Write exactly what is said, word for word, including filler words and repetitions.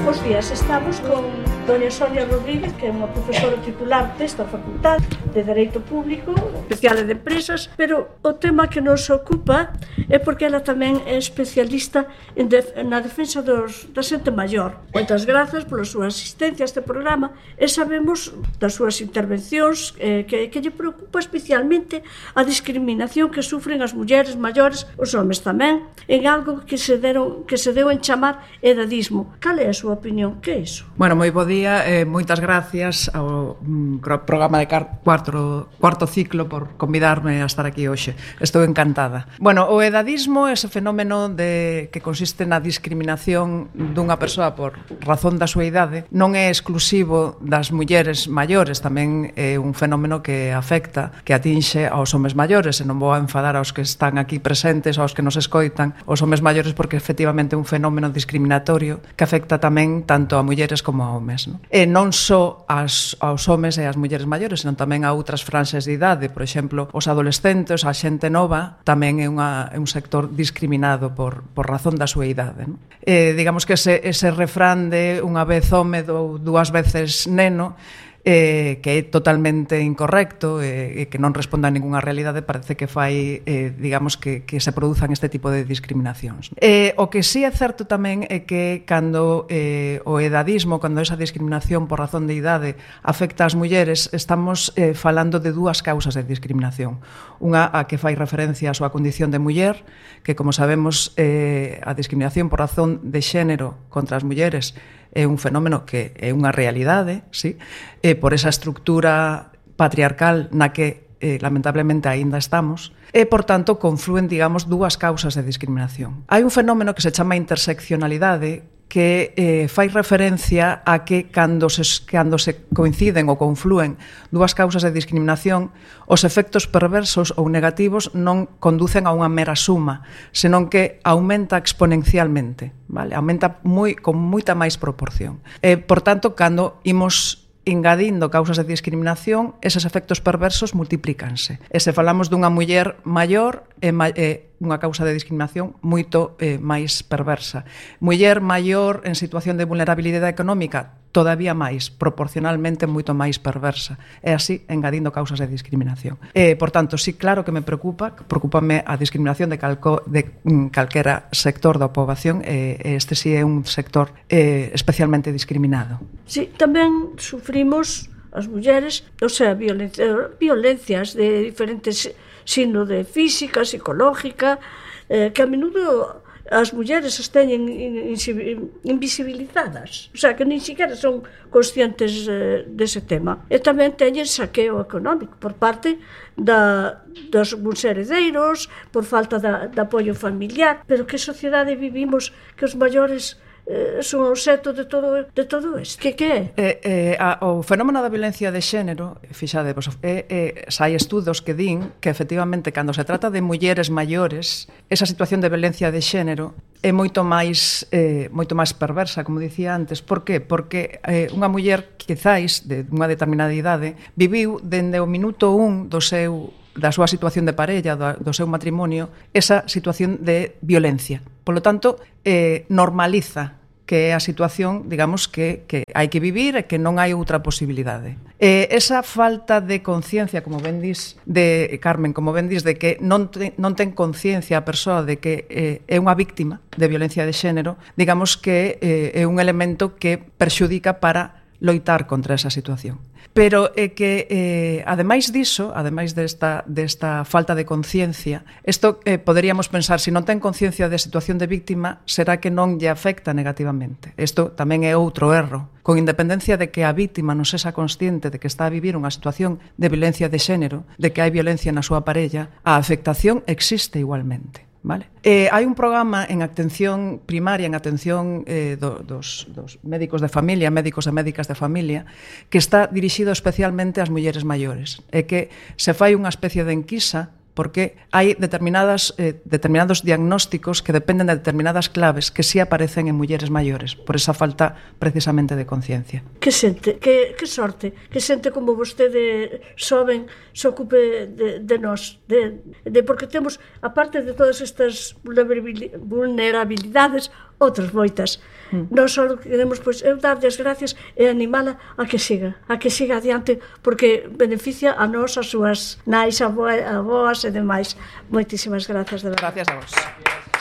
Bos días, estamos con doña Sonia Rodríguez, que é unha profesora titular desta facultade de Dereito Público, especial de empresas, pero o tema que nos ocupa é porque ela tamén é especialista en def na defensa dos, da xente maior. Moitas grazas pola súa asistencia a este programa e sabemos das súas intervencións eh, que, que lle preocupa especialmente a discriminación que sufren as mulleres maiores, os homes tamén, en algo que se, deron, que se deu en chamar edadismo. Cal é a súa opinión? Que é iso? Bueno, moi bo día, eh, moitas gracias ao mm, programa de cuarto, cuarto ciclo por convidarme a estar aquí hoxe. Estou encantada. Bueno, o edadismo é ese fenómeno de que consiste na discriminación dunha persoa por razón da súa idade. Non é exclusivo das mulleres maiores, tamén é un fenómeno que afecta, que atinxe aos homes maiores, e non vou a enfadar aos que están aquí presentes, aos que nos escoitan, os homes maiores, porque efectivamente é un fenómeno discriminatorio que afecta tamén tanto a mulleres como a homes, non? E non só as, aos homes e as mulleres maiores, senón tamén a outras franxas de idade. Por exemplo, os adolescentes, a xente nova, tamén é, unha, é un sector discriminado por, por razón da súa idade, non? E, digamos que ese, ese refrán de unha vez home, do, dúas veces neno, Eh, que é totalmente incorrecto e eh, que non responde a ninguna realidade, parece que fai, eh, digamos, que, que se produzan este tipo de discriminacións. Eh, o que sí é certo tamén é que cando eh, o edadismo, cando esa discriminación por razón de idade afecta ás mulleres, estamos eh, falando de dúas causas de discriminación. Unha a que fai referencia á súa condición de muller, que como sabemos eh, a discriminación por razón de xénero contra as mulleres é un fenómeno que é unha realidade, sí, e por esa estructura patriarcal na que eh, lamentablemente aínda estamos, e, por tanto, confluen, digamos, dúas causas de discriminación. Hai un fenómeno que se chama interseccionalidade, que eh, fai referencia a que cando se, cando se coinciden ou confluen dúas causas de discriminación, os efectos perversos ou negativos non conducen a unha mera suma, senón que aumenta exponencialmente, vale? Aumenta moi, con moita máis proporción. E, por tanto, cando imos engadindo causas de discriminación, eses efectos perversos multiplícanse. E se falamos dunha muller maior, é, é unha causa de discriminación moito eh, máis perversa. Muller maior en situación de vulnerabilidade económica, todavía máis, proporcionalmente moito máis perversa. E así, engadindo causas de discriminación. E, por tanto, sí, claro que me preocupa, preocúpame a discriminación de, calco, de mm, calquera sector da poboación, e este sí é un sector eh, especialmente discriminado. Sí, tamén sufrimos as mulleres, o sea, violencia, violencias de diferentes signos de física, psicológica, eh, que a menudo as mulleres as teñen invisibilizadas, o sea, que nin siquiera son conscientes eh, dese tema. E tamén teñen saqueo económico por parte da, dos buns heredeiros, por falta da, de apoio familiar. Pero que sociedade vivimos que os maiores Eh, son o obxecto de todo, de todo isto? Que que é? Eh, eh, a, o fenómeno da violencia de xénero, fixade, pues, eh, eh, hai estudos que din que efectivamente cando se trata de mulleres maiores, esa situación de violencia de xénero é moito máis eh, moito máis perversa, como dicía antes. Por qué? Porque eh, unha muller, quizáis, de unha determinada idade, viviu dende o minuto un do seu da súa situación de parella, do, do seu matrimonio, esa situación de violencia. Por lo tanto, eh, normaliza que é a situación, digamos, que, que hai que vivir e que non hai outra posibilidade. Eh, esa falta de conciencia, como ben dis, de Carmen, como ben dis, de que non, te, non ten conciencia a persoa de que eh, é unha víctima de violencia de xénero, digamos que eh, é un elemento que perxudica para loitar contra esa situación. Pero é que, eh, ademais diso, ademais desta, desta falta de conciencia, isto eh, poderíamos pensar, se non ten conciencia de situación de víctima, será que non lle afecta negativamente. Isto tamén é outro erro. Con independencia de que a víctima non sexa consciente de que está a vivir unha situación de violencia de xénero, de que hai violencia na súa parella, a afectación existe igualmente. Vale? Eh, hai un programa en atención primaria, en atención eh, do, dos, dos médicos de familia, médicos e médicas de familia, que está dirixido especialmente ás mulleres maiores. É que se fai unha especie de enquisa porque hai determinadas, eh, determinados diagnósticos que dependen de determinadas claves que sí aparecen en mulleres maiores, por esa falta precisamente de conciencia. Que xente, que, que sorte, que xente como vostede xoven se ocupe de, de nós, de, de porque temos, aparte de todas estas vulnerabilidades, outras moitas. Non só queremos, pois, eu darlle as gracias e animala a que siga, a que siga adiante, porque beneficia a nós, as súas nais, avoas e demais. Moitísimas gracias, de verdade. Gracias a vos.